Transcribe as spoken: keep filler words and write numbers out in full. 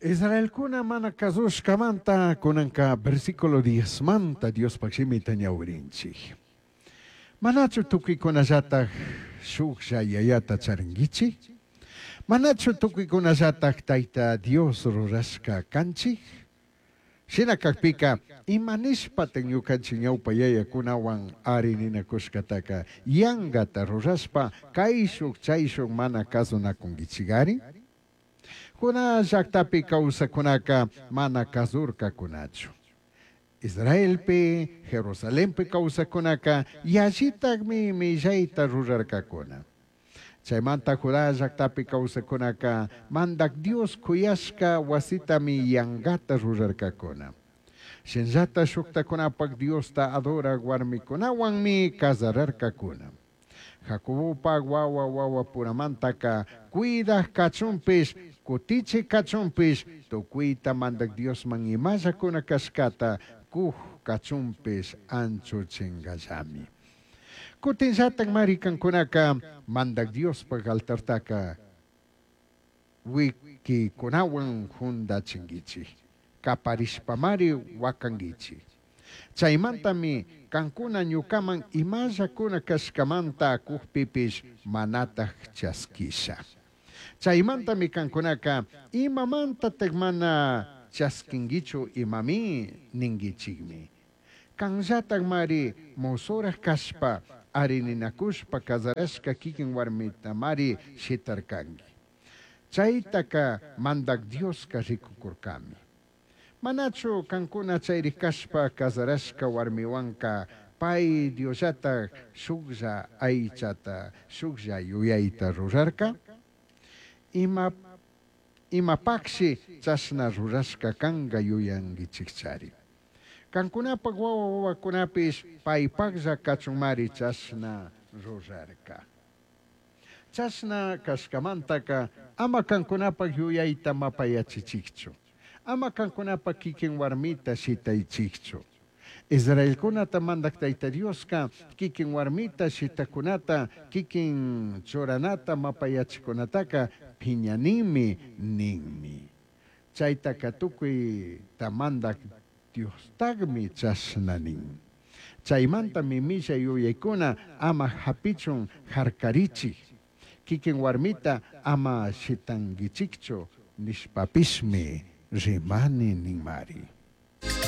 Israelcuna mana cazushcamanta cunanca versículo diezmanta Diospaj shimita ñawirinchij. Manachu tucuicunallataj shujlla yayata charinguichij? Manachu tucuicunallataj Taita Dios rurashca canchij? Shina cajpica, ima nishpataj ñucanchij ñaupa yayacunahuan ari ninacushcataca yangata rurashpa caishuj chaishuj mana cazunacunguichigari? Judá llajtapi causajcunaca mana cazurcacunachu. Israelpi, Jerusalenpi causajcunaca yallitajmi millaita rurarcacuna. Chaimanta Judá llajtapi causajcunaca Mandaj Dios c'uyashca huasitami yangata rurarcacuna. Shinallata shujtajcunapaj Diosta adoraj huarmicunahuanmi cazararcacuna. Jacobopaj huahua huahuapuramantaca cuidaj cachunpish, cutichij cachunpish, tucuita Mandaj Diosman imalla cuna cashcata cuj cachunpish anchuchingallami. Cutinllataj mari cancunaca Mandaj Diospaj altartaca huiquicunahuan jundachinguichij, caparishpamari huacanguichij. Chaimantami cancuna ñucaman imalla cuna cashcamanta cujpipish manataj chasquisha. Chaimantami cancunaca imamantataj mana chasquinguichu imami ninguichijmi. Canllatajmari mosoraj cashpa ari ninacushpa cazarashca quiquin huarmitamari shitarcangui. Chaitaca Mandaj Diosca ricucurcami. Manachu cancuna chairij cashpa cazarashca huarmihuanca pai Diosllataj shujlla aichata, shujlla yuyaita rurarca? Ima, imapajshi chashna rurashca canga yuyanguichijchari. Cancunapaj huahua huahuacunapish paipajlla cachunmari chashna rurarca. Chashna cashcamantaca ama cancunapaj yuyaita mapayachichijchu. Ama cancunapaj quiquin huarmita shitaichijchu. Israelcunata Mandaj Taita Diosca quiquin huarmita shitajcunata, quiquin churanata mapayachijcunataca piñanimi ninmi. Chaitaca tucuita Mandaj Diostajmi chashna nin. Chaimantami millai yuyaicuna ama japichun jarcarichij. Quiquin huarmita ama shitanguichijchu nishpapishmi rimani ninmari.